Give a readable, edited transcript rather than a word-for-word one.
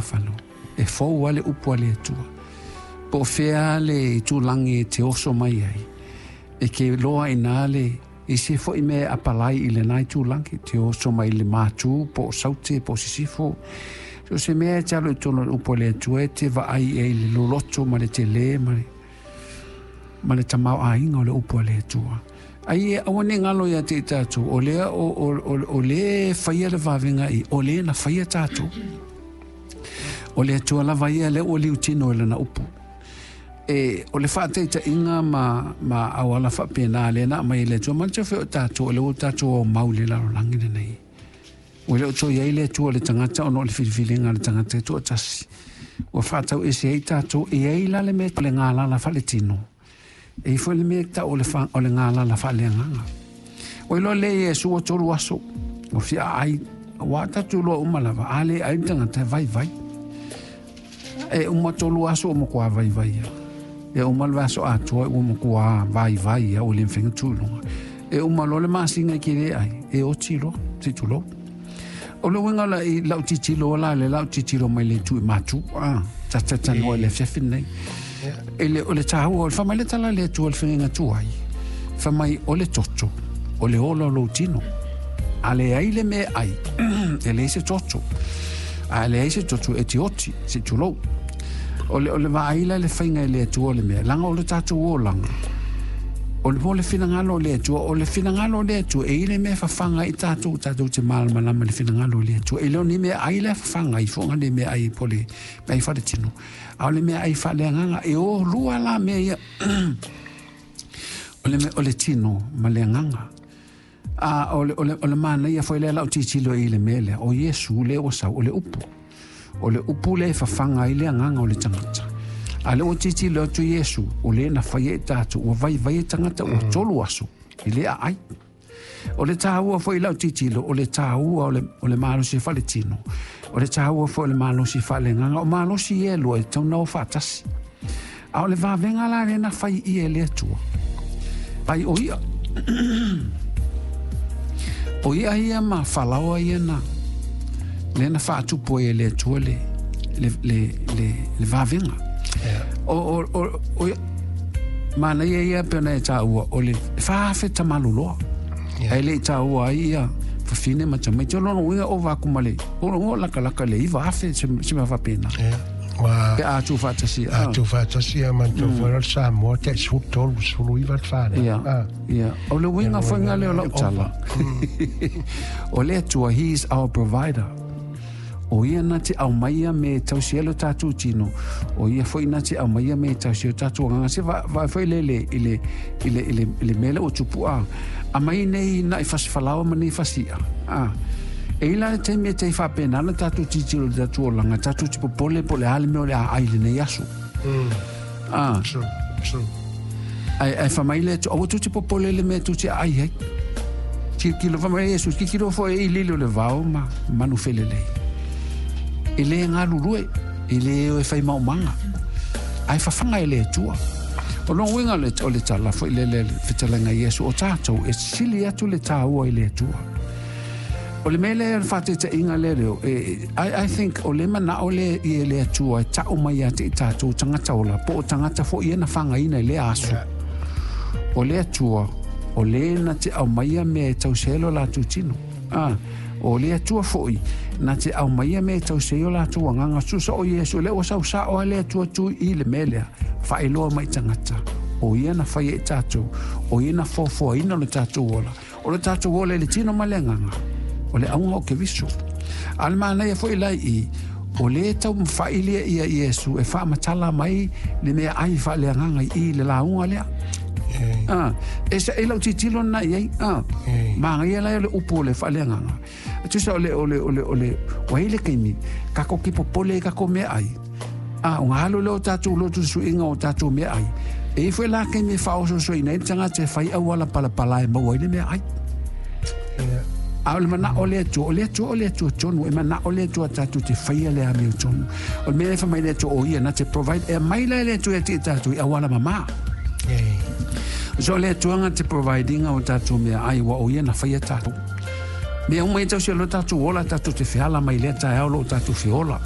ua fanau, e fou lava le upu a le Atua. Po o fea le itulagi e te oso mai ai, e te iloa i ina le isi foi mea e apalai i lena itulagi, e te oso mai i le Matu, po o Saute, po o Sisifo. So o se mea e te alo i totonu o le upu a le Atua e te vaai i ai i le loloto ma le tele ma le, ma le tamaoaiga o le upu a le Atua. Ai e aua ne i galo ia te i tatou, o lea o, o, o, o lē e faia le vavega i, o lē na faia tatou. O le Atua lava ia lea ua liutino i lana upu. E, o le faataitaiga ma, ma auala faapena lea na aumai e le Atua, manatua foi o tatou, o lea ua tatou aumau i le lalolagi lenei. Ua le o toe i ai le Atua i le tagata ona o le filifiliga a le tagata e toatasi. Ua faatau ese ai tatou, e i ai la le mea o le galala faaletino, e i ai foi le mea e tau o le, o le galala faaleagaga. Ua iloa lea Iesu ua 3 aso, ua fia aai, ua tatou iloa uma lava, a le ai le tagata e vaivai. E uma 3 aso ua matua vaivai ia. E uma le vaiaso atoa ua matua vaivai ia, ua le mafai ona tu i luga. E uma loa le masina e te le ai, e oti loa, se i tulou. O le uiga la i lau tilotilo la le lau tilotilo mai le itu i Matu, a, ta talanoa i le afiafi lenei. E le, o le taua, o le fai mai le tala le Atua i le fegaiga tuai, fai mai o le toto, o le ola o lou tino. A leai le mea e ai, e leai se toto. A leai se toto e te oti, se i tulou. O le, o le vaai la i le faiga e le Atua o le mea, leaga o le tatou olaga, o le, mo le finagalo o le Atua, o le finagalo o le Atua, e i ai le mea e fafaga ai tatou, tatou te malamalama i le finagalo o le Atua. E le o ni mea ai la e fafaga ai foga le mea ai po le mea ai faaletino, a o le mea ai faaleagaga. E o lua la mea ia, o le, o le tino ma le agaga. A o le, o le, o le manaia foi lea lau tilotilo i le mea lea, o Iesu lea ua sau, o le upu. O le upu lea e fafaga ai le agaga o le tagata. A lea ua tilotilo atu Iesu, o le na faia i tatou, ua vaivai e tagata ua 3 aso, i le aai. O le taua foi lau tilotilo, o le taua o le, o le malosi faaletino, o le taua foi o le malosi faaleagaga, o malosi ia e lua e tatau ona o faatasi. A o le vavega la lea na fai ia e le Atua, ai o ia. O ia ia ma falaoa ia na, lea na faatupu ai e le Atua le, le, le, le, le vavega. O, o, o, o, manaia ia pe ona e taua, o le 4,000 tamaluloa. Yeah. Ai le i taua ai ia fafine ma tamaiti. O lona uiga ova atu ma le, o lona uiga o lakalaka le 9,000 se, se mea faapena. Yeah. Ua Pe a tuufaatasi. A tuufaatasi a manatua foi le Samoa tai 13, 19 le whanau. Ia, ia. O le uiga foi lea o lau tala. O le Atua, He is our provider. O ia na te aumaia me tausi ai lo tatou tino, o ia foi na te aumaia me tausi ai lo tatou agaga. Se vaai foi le le i le i le i le i le mea lea ua tupu a. Aumai nei na'i fasi falaoa ma nei fasi i'a. A. E i la le taimi e tai faapena ona tatou tilotilo i le tatou olaga, tatou te popole po o le a le mea o le a ai i lenei aso. A. True, true. Ae, ae fai mai le Atua, aua tou te popole i le mea tou te aai ai. Tilotilo, fai mai Iesu, tilotilo foi i lili o le vao ma manu felelei. E le galulue, e le o e fai maumaga, ae fafaga e le Atua. O lona uiga o le tala foi lele le fetalaiga Iesu, o tatou e sili atu le taua i le Atua. O le mea lea, o le faataitaiga lea leo, e, I think o le manao lea i le Atua e tau mai ia te i tatou tagata ola, po o tagata foi ia na fagaina i lea aso. O le Atua, o le na te aumaia mea e tausi ai lo latou tino. Ah, o le Atua foi, na te aumaia mea e tausi ai o latou agaga. Susa o Iesu, lea ua sau sao a le Atua tu i le mea lea, faailoa mai i tagata. O ia na faia i tatou, o ia na foafoaina lo tatou ola. O le tatou ola i le tino ma le agaga, o le auga o Keriso. A o le manaia foi la i i, o lea e taumafai lia ia Iesu e faamatala mai le mea ai faaleagaga i i le lauga lea. Ah, e sa e lau tilotilo lena i ai. Ah, manaia la o le upu o le faaleagaga. Tusa o le o le o le o le ua i ai le taimi tatou te popole i tatou meaai. Ah, ona alu lea o tatou lotu suiga o tatou meaai. E i ai foi la taimi e faaosoosoina ai le tagata e fai auala palapala e maua ai le meaai. A o le manao o le Atua, o le Atua o le Atua tonu, e manao le Atua tatou te faia le amiotonu. O le mea e fai mai le Atua, o ia na te provide, e aumai la e le Atua ia te i tatou i auala mama. So o le Atua na te provide ina o tatou meaai, ua o ia na faia tatou. Mea uma ia tausi e lo tatou ola, tatou te feala mai lea taeao lo tatou feola.